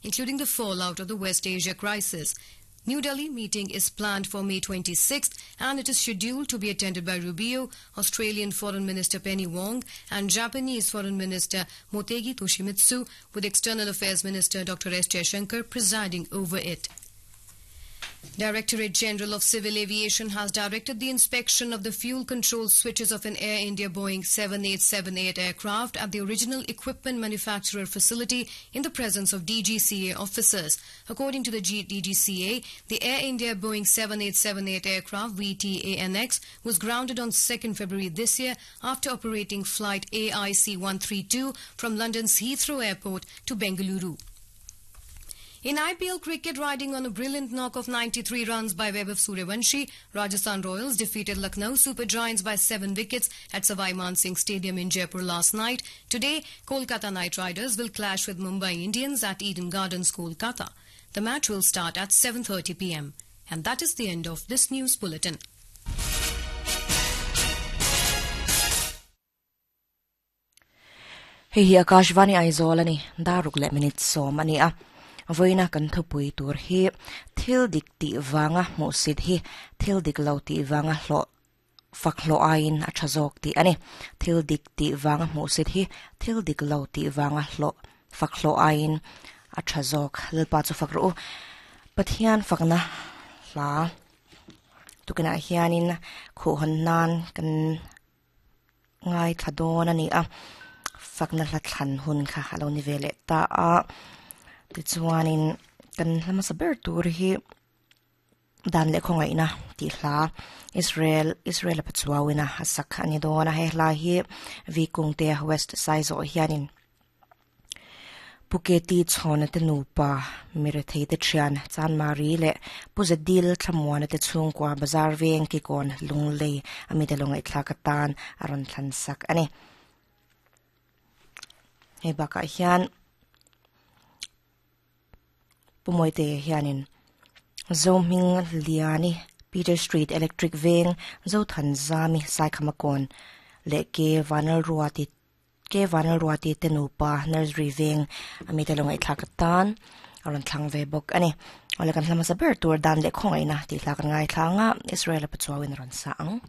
including the fallout of the West Asia crisis. New Delhi meeting is planned for May 26th and it is scheduled to be attended by Rubio, Australian Foreign Minister Penny Wong and Japanese Foreign Minister Motegi Toshimitsu, with External Affairs Minister Dr. S. Jaishankar presiding over it. Directorate General of Civil Aviation has directed the inspection of the fuel control switches of an Air India Boeing 7878 aircraft at the original equipment manufacturer facility in the presence of DGCA officers. According to the DGCA, the Air India Boeing 7878 aircraft VTANX was grounded on 2nd February this year after operating flight AIC 132 from London's Heathrow Airport to Bengaluru. In IPL cricket, riding on a brilliant knock of 93 runs by Vaibhav Suryavanshi, Rajasthan Royals defeated Lucknow Super Giants by 7 wickets at Savai Man Singh Stadium in Jaipur last night. Today, Kolkata Knight Riders will clash with Mumbai Indians at Eden Gardens, Kolkata. The match will start at 7:30 p.m. And that is the end of this news bulletin. Hei hi Akashvani Aizawl a ni, dar ruk leh minute sawm a ni a. Vawiina kan thupui tur hi thil dik tih vanga hmuhsit hi thil dik lo tih vanga hlawh fak hlawh aiin a tha zawk tih a ni. Thil dik tih vanga hmuhsit hi thil dik lo tih vanga hlawh fak hlawh aiin a tha zawk. Lalpa chu fak rawh u. Pathian fakna hla tukinah hianin khuhhawn nan kan ngaithla dawn a ni a, fakna hla thlan hun kha a lo ni ve leh ta a, tichuanin kan hla hmasa ber tur hi dan leh khawngaihna tih hla Israel Israel a pachuauina a sak a ni dawn a, he hla hi V Kungte West Saizawh hianin Pu Keti Chhawna te nupa, Mirethei te thian, Chanmari leh Pu Zadil Thlamuana te chhungkua Bazar veng Kikawn Lunglei a mite lo ngaihthlak atan a rawn thlan sak a ni. Hei bakah hian Pu Mawite hianin Zohming Liani, Peter Street Electric Veng, Zothanzami Saikhamakawn leh Ke Vanlalruati Ke Vanlalruati te nupa Nursery veng a mite lo ngaihthlak atan a rawn thlang ve bawk a ni. Awle kan hla hmasa ber tur dan leh khawngaihna tih hla kan ngaithla ang a, Israel-a pachuauin a rawn sa ang.